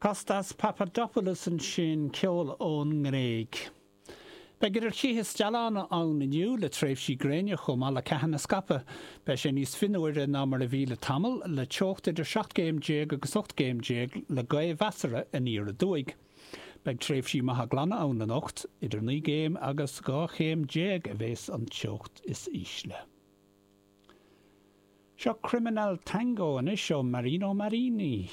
Kostas Papadopoulos ansin, ceol ón nGréig. Beidh idir chith is dealán ann inniu, le tréimhsí gréine chomh maith le ceathanna scaipthe. Beidh sé níos fionnuaire ná mar a bhí le tamall, le teocht idir 17 gcéim agus 18 gcéim le gaoth mheasartha aniar aduaidh. Beidh tréimhsí maithe glana ann anocht, idir 9 gcéim agus 12 chéim a bheas an teocht is ísle. Seo Criminal Tango anois ó Marino Marini.